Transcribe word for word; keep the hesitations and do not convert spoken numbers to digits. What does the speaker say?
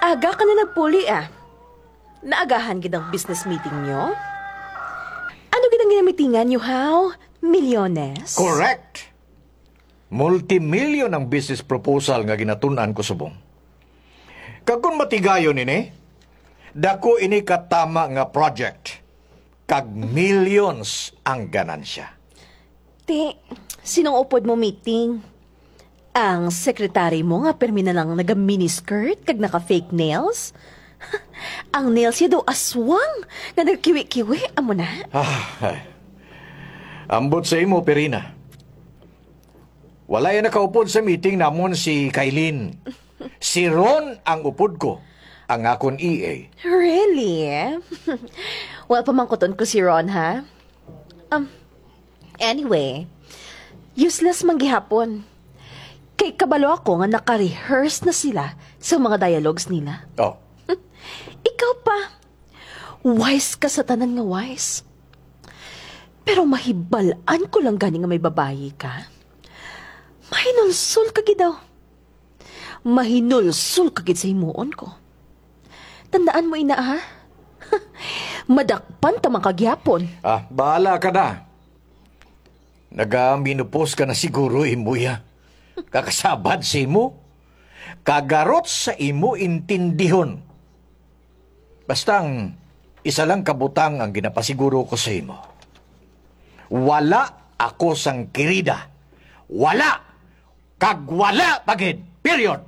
Aga ka na nagpuli, ah. Naagahan gid ang business meeting nyo? Ano gid ang ginamitingan nyo, haw? Milyones? Correct! Multimilyon ang business proposal nga ginatun-an ko subong. Kag kung matigayon ini, dako ini katama nga project, kag millions ang ganansya. Ti, sinong upod mo meeting? Ang secretary mo nga permi na lang naga miniskirt kag naka fake nails? Ang nails niya daw aswang nga nagkiwi-kiwi, amo na. Ah, ay. Ambot sa imo, Perina. Wala yan nakaupod sa meeting namon si Kailin. Si Ron ang upod ko, ang akon E A. Really? Well, pamangkuton ko si Ron, ha? Um, anyway, useless man gihapon. Kay kabalo ako nga naka-rehearse na sila sa mga dialogues nila. Oh, Ikaw pa, wise ka sa tanan nga wise. Pero mahibal-an ko lang gani nga may babayi ka. Mahinulsol ka gid daw. Mahinulsol ka gid sa himuon ko. Tandaan mo ina, ha? Madakpan ta man ka gihapon. Ah, bahala ka na. Nagaminupos ka na siguro, Imuya. Kakasabad sa imo. Kagarot sa imo intindihon. Basta ang isa lang kabutang ang ginapasiguro ko sa imo. Wala ako sang kirida. Wala! Kag wala pa gid. Period.